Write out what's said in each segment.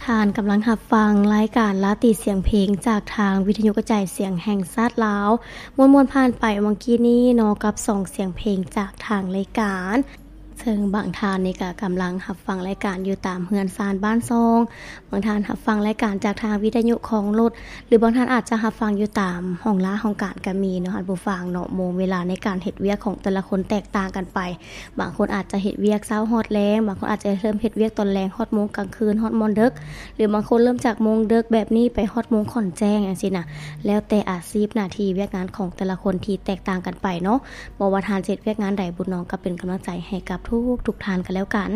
ທ່ານກຳລັງຮັບຟັງລາຍການລາຕີສຽງເພງ ຈາກທາງວິທະຍຸກະຈາຍສຽງແຫ່ງຊາດລາວ. ມ່ວນໆຜ່ານໄປຫວ່າງກີ້ນີ້ເນາະ ກັບສອງສຽງເພງຈາກທາງລາຍການ, ເຊິ່ງບາງທ່ານນີ້ກະກຳລັງຮັບຟັງລາຍການຢູ່ຕາມເຮືອນຊານບ້ານຊ່ອງ, ບາງທ່ານຮັບຟັງລາຍການຈາກທາງວິທະຍຸຂອງລົດ, ຫຼືບາງທ່ານອາດຈະຮັບຟັງຢູ່ຕາມຫ້ອງລາຫ້ອງການກະມີເນາະ ທ່ານຜູ້ຟັງເນາະ. ໂມງເວລາໃນການເຮັດວຽກຂອງແຕ່ລະຄົນແຕກຕ່າງກັນໄປ. ບາງຄົນອາດຈະເຮັດວຽກເຊົ້າຮອດແລງ, ບາງຄົນອາດຈະເລີ່ມເຮັດວຽກຕອນແລງຮອດໂມງກາງຄືນ, ຮອດມ່ອນເດິກ, ຫຼືບາງຄົນເລີ່ມຈາກໂມງເດິກແບບນີ້ໄປຮອດໂມງຂ້ອນແຈ້ງຈັ່ງຊີ້ນະ. ແລ້ວແຕ່ອາຊີບໜ້າທີ່ວຽກງານຂອງແຕ່ລະຄົນທີ່ແຕກຕ່າງກັນໄປເນາະ. ບໍ່ວ່າທ່ານຈະເຮັດວຽກງານໃດ, ບຸນນ້ອງກໍເປັນກຳລັງໃຈໃຫ້ກັບທຸກໆທ່ານກັນແລ້ວກັນ.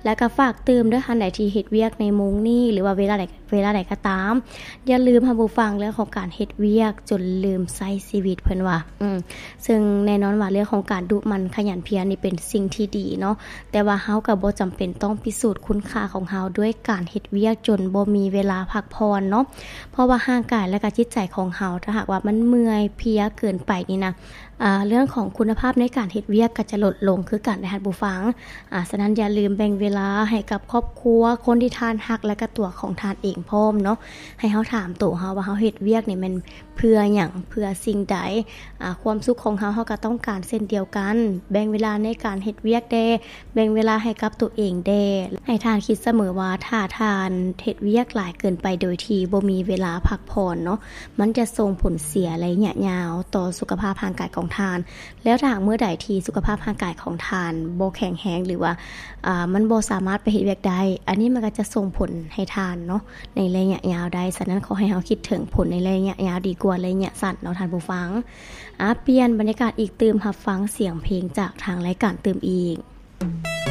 ແລ້ວກໍຝາກຕື່ມເດີ, ທ່ານໃດທີ່ເຮັດວຽກໃນໂມງນີ້ ຫຼືວ່າເວລາໃດ ເວລາໃດກໍຕາມ, ຢ່າລືມ ທ່ານຜູ້ຟັງ, ເລື່ອງຂອງການເຮັດວຽກຈົນລືມໃຊ້ຊີວິດ ເພິ່ນວ່າ. ອືມ ເຊິ່ງແນ່ນອນວ່າເລື່ອງຂອງການດຸໝັ່ນຂະຫຍັນພຽນນີ້ເປັນສິ່ງທີ່ດີເນາະ, ແຕ່ວ່າເຮົາກໍບໍ່ຈຳເປັນຕ້ອງພິສູດຄຸນຄ່າຂອງເຮົາດ້ວຍການເຮັດວຽກຈົນບໍ່ມີເວລາພັກຜ່ອນເນາະ. ເພາະວ່າຮ່າງກາຍ ແລະກະຈິດໃຈຂອງເຮົາ ຖ້າຫາກວ່າມັນເມື່ອຍເພຍເກີນໄປນີ້ນະ, ອາ ເລື່ອງຂອງຄຸນນະພາບໃນການເຮັດວຽກກໍຈະລົດລົງຄືກັນເດ້ ທ່ານຜູ້ຟັງ. ອາ ສະນັ້ນຢ່າລືມແບ່ງເວລາໃຫ້ກັບຄອບຄົວ, ຄົນທີ່ທ່ານຮັກ ແລະກະຕົວຂອງທ່ານເອງພ້ອມເນາະ. ໃຫ້ເຮົາຖາມໂຕເຮົາວ່າເຮົາເຮັດວຽກນີ້ແມ່ນເພື່ອຫຍັງ, ເພື່ອສິ່ງໃດ? ອາ ຄວາມສຸກຂອງເຮົາ ເຮົາກໍຕ້ອງການເຊັ່ນດຽວກັນ. ແບ່ງເວລາໃນການເຮັດວຽກແດ່, ແບ່ງເວລາໃຫ້ກັບໂຕເອງແດ່. ໃຫ້ທ່ານຄິດສະເໝີວ່າ ຖ້າທ່ານເຮັດວຽກຫຼາຍເກີນໄປໂດຍທີ່ບໍ່ມີເວລາພັກຜ່ອນເນາະ, ມັນຈະສົ່ງຜົນເສຍໄລຍະຍາວຕໍ່ສຸຂະພາບຮ່າງກາຍຂອງທ່ານ. ແລ້ວຖ້າຫາກມື້ໃດທີ່ສຸຂະພາບຮ່າງກາຍຂອງທ່ານບໍ່ແຂງແຮງ ຫຼືວ່າ ອາ ມັນບໍ່ສາມາດໄປເຮັດວຽກໄດ້, ອັນນີ້ມັນກໍຈະສົ່ງຜົນໃຫ້ທ່ານເນາະ ໃນໄລຍະຍາວໄດ້. ສະນັ້ນ ຂໍໃຫ້ເຮົາຄິດເຖິງຜົນໃນໄລຍະຍາວດີກວ່າໄລຍະສັ້ນເນາະ ທ່ານຜູ້ຟັງ. ອາ ປ່ຽນບັນຍາກາດອີກຕື່ມ, ຮັບຟັງສຽງເພງຈາກທາງລາຍການຕື່ມອີກ.